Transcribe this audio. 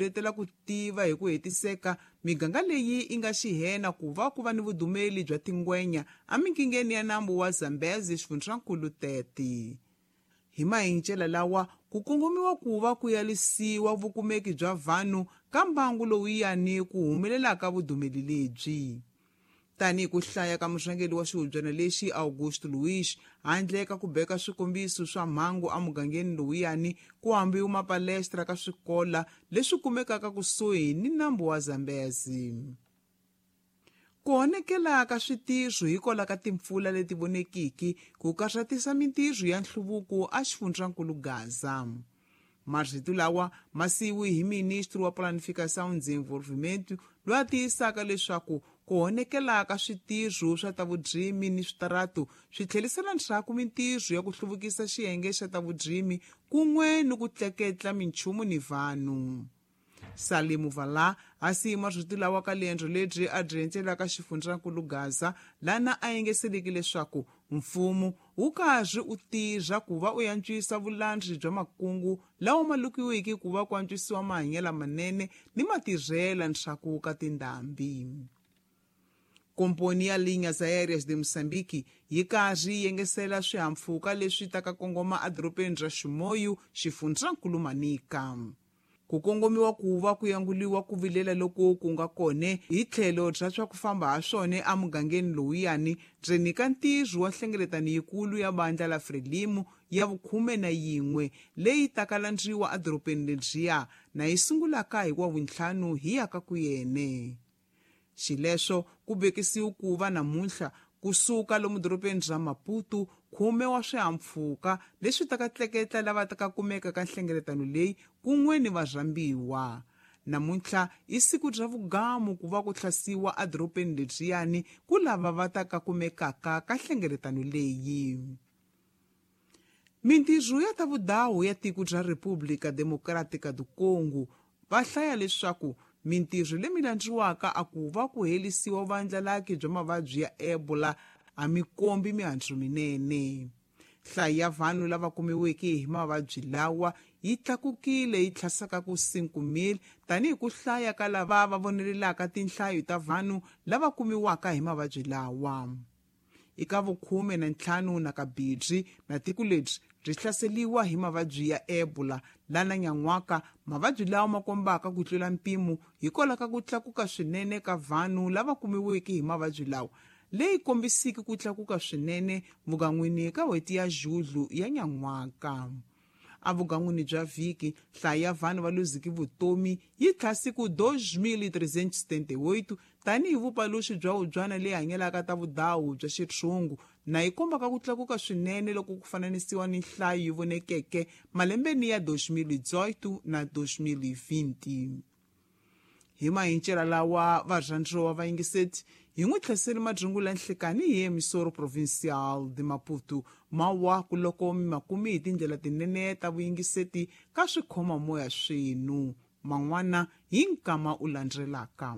letela ku tiva hi ku hetiseka miganga leyi yi nga xihena ku va ku va ni vudumeli bya tingwenya emingingeni ya nambu wa Zambezi xifundzankulu 30. Hi mahincela lawa ku kongomiwa ku va ku yalisiwa vukumeki bya vanhu ka mbangu lowuyani ku humelelaka vudumeli lebyi. Tanihi ku hlaya ka murhangeri wa xihubyana lexi Augusto Luiz, handle ka ku beka swikombiso swa mhangu emugangeni lowuyani ku hambiwa mapalestra ka swikola leswi kumekaka kusuhi ni nambu wa Zambezi. Ku honekela ka switirho hikwalaho ka timpfula leti vonekiki ku karhatisa mintirho ya nhluvuko exifundzankulu Gaza. Marito lawa ma siyiwe hi ministri wa Planificação e Desenvolvimento loyi a tiyisaka leswaku ku honekela ka switirho swa ta vurimi ni switaratu swi tlherisela ndzhaku mintirho ya ku hluvukisa xiyenge xa ta vurimi kun'we ni ku tleketla minchumu ni vanhu. Salimu Vala a siyi marito lawa ka liendzo lebyi a byi endzelaka xifundzankulu Gaza lana a yengeseleki leswaku mfumo wu karhi u tirha ku va u antswisa vulandzi bya makungu lawa ma lukiwiki ku va ku antswisiwa mahanyelo lamanene ni matirhela ndzhaku ka tindhambi. Komponi ya Linhas Aéreas de Moçambique yi karhi yi yengesela swihahampfhuka leswi taka kongoma edorobeni ra Chimoio, xifundzankulu Manica. Ku kongomiwa ku va ku yanguliwa ku vilela loku ku nga kone hi tlhelo bya swa ku famba ha swona emugangeni lowuyani ndzeni ka ntirho wa nhlengeletano yikulu ya vandla la Frelimo ya vukhume na yin'we leyi taka landziwa edorobeni lebyiya na yi sungulaka hi Wavuntlhanu hi ya ka ku yene. Xileswo ku vekisiwe ku va namuntlha kusuka lomu dorobeni ra Maputo khume wa swihahampfhuka leswi taka tleketla lava taka kumeka ka nhlengeletano leyi kun'we ni varhambiwa. Namuntlha i siku ra vugamu ku va ku hlasiwa edorobeni lebyiyani ku lava va taka kumekaka ka nhlengeletano leyi. Mintirho ya ta vudawu ya tiko ra República Democrática do Congo va hlaya leswaku mintirho leyi landziwaka a ku va ku helisiwa vandlalaki bya mavabyi ya Ebola a mi kombi mihandzu minene. Nhlayo ya vanhu lava kumiweke hi mavabyi lawa yi tlakukile yi tlhasaka ku 5,000 tanihi ku hlaya ka lava va vonelelaka tinhlayo ta vanhu lava kumiwaka hi mavabyi lawa. Eka vukhume na ntlhanu na kabirhi na tiko lebyi byi hlaseriwa hi mavabyi ya Ebola lana nyan'waka mavabyi lawa ma kombaka ku tlula mpimo hikwalaho ka ku tlakuka swinene ka vanhu lava kumiweke hi mavabyi lawa leyi kombisiki ku tlakuka swinene vugan'wini ka n'hweti ya Julhu ya nyan'waka. Evugan'wini bya vhiki nhlayo ya vanhu va luziki vutomi yi tlhasi ku 2378 tanihi vupaluxi bya vubyana leyi hanyelaka ta vudawu bya xitshungu na yi kombaka ku tlakuka swinene loko ku fananisiwa ni nhlayo yi vonekeke malembeni ya 2018 na 2020. Hi mahincela lawa varhandziwa va yingiseti hi n'wi tlheseli madyungu la nhlekani hi emisoro provincial de Maputo mawaku loko mi makumi hi tindlela tinene ta vuyingiseti ka swikhomamoya swenu man'wana hi nkama u landzelaka.